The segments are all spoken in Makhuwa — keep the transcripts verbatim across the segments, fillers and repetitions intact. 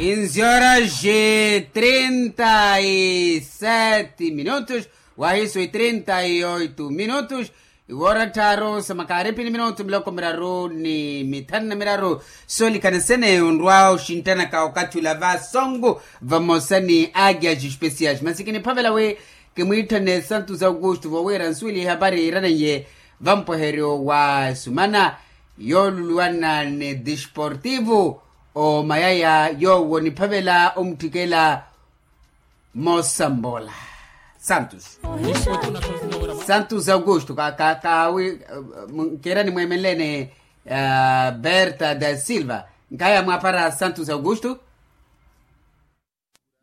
Kinzi horas e trinta e sete minutos, wahiso e trinta e oito minutos. Iwoora tthaaru sa makaaripi ni minutu miloko miraru ni mithanu na miraru. Soolikana sene onrwa oxinttanaka okathi ula vasongo vamosa ni agias especiais masi kiniphavela wi kimwiitthane santos augusto vowira nsuwili ihapari iraneiye vampweheryo wa sumana yooluluwana ni desportivo omayaya yoowo niphavela omutthikela. Mosambola santos santos augusto ka ka kawi. Nkera nimweemenlene berta da silva nkaya mwapara santos augusto.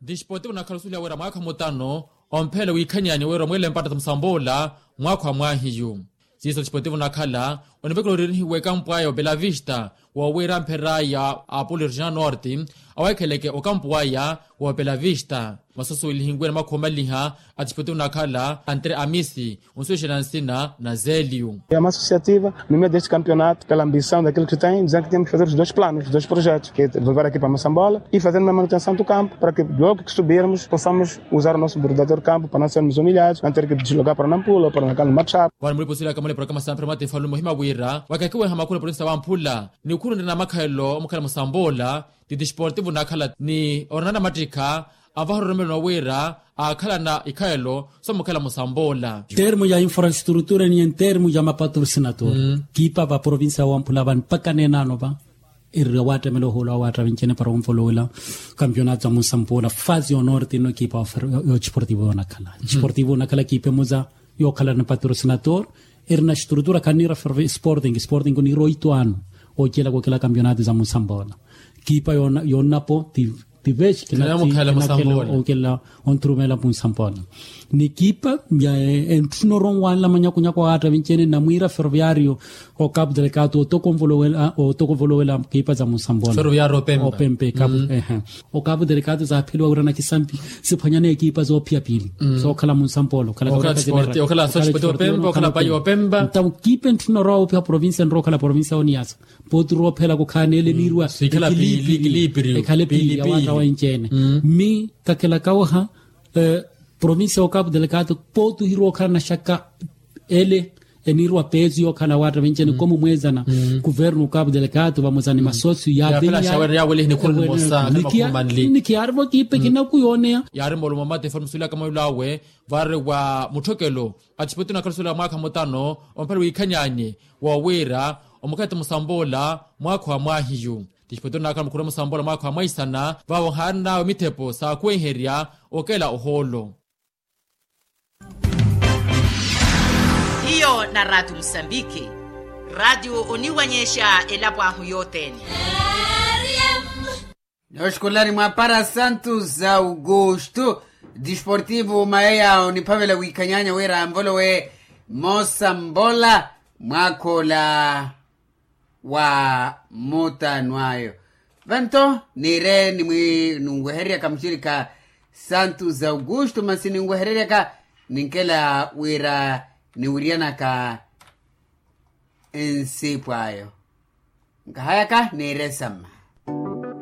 Disportivo nakhala osuliha wira mwaakha mutano omphele wiikhanyanya wira omwele mpatta sa musambola mwaakha wa mwahiyu. Siiso disportivo nakhala onivekela orinihiwa ekampu aya opelavista wowira mpheraya apolo regional norte aweekheleke okampu aya wopela vista. Masoso welihinkuwe na makhomaliha a disportivo nakhala antre amisi onsuwexela nsina na zelio. Ya massociativa no meio deste campeonato pela ambição daquilo que tem dizendo que temos que fazer os dois planos os dois projetos que volver aqui para massambola e fazer uma manutenção do campo para que logo que subirmos possamos usar o nosso bordador campo para não sermos humilhados não ter que deslogar para nampula ou para nampula. Wari mulipo sila kamale programa sampira matefalu muhima wira wakakiweha makulu polisi wamphula ni khulundela na makhalelo omukhala musamboola. Ti disportivo nakhala ni oranana mattikha avaha ororomelo nowira akhalana ikhalelo somukhala musamboola. Termo ya infrastrutura ni en termo ya mapatrosinator kipa va provincia wamphula vani mpaka nenano va. Erira wattamela ohoolo awattavincene para onvolowela kampeonato ya munsampoola fasi yonorte ino kipa yo disportivo yonakhala disportivo yonakhala kipa emoza yokhala ni patrosinator. Eri na estrutura khaniira ferve sporting sporting oniira oito ano ocelaka okela kampeonato za munsampoola. Kipa yonnapo ti ti vexi kinakhela okela onthurumela munsampoola. Ni kipa ya entthuna oronwanla manyakunyaku awattavincene namwiira ferroviario okapu delekatu otokonvolowela kipa za munsampoola. Opempe kapu ehe. Okapu delekatu zaapheliwa wira na kisampi siphwanyana ekipa zoophiya piili sookhala munsampolo okhala. Ntawo kiipe ntthuna orwa woopiha provincia nrowa okhala provincia oniyasa pooti roophela kukhaana ele niirwa ekhala piili awatta wenci-ene. Mmi kakelaka waha provincia okapu delekatu pooti ohirowa okhala na xaka ele eniirwa peesu yookhala awatta wenci-ene komu mweezana kuvernu okapu delekatu vamosa ni masosio yaapeliya. Nikiyaarivo kiipe kinaku yooneya. Yaari moolumo mate foni musuulaka mwayulo awe vaari wa mutthokelo a disportivo nakhala osuula mwaakha mutano omphale wiikhanyaanye woowiira omukhalete musamboola mwaakha wa mwaahiyu. Disportivo nakhala mukhuruma musamboola mwaakha wa mwaisana vaavo nhaarinawe mithepo saakhuwenherya okela ohoolo. Hiyo na raatiyo musambiki raatiyo oniwanyexa elapo ahu yothene. Nooxukulani mwa para santos augusto disportivo mayeya oniphavela wiikhanyaanya wira anvolowe moosambola mwaakha ola wa mutano ayo. Vanto niire nimwi nunwehereryaka muxirikha santos augusto masi ninwehereryaka ninkela wira niwiryanaka nsipu ayo. Nkahayaka niire samma.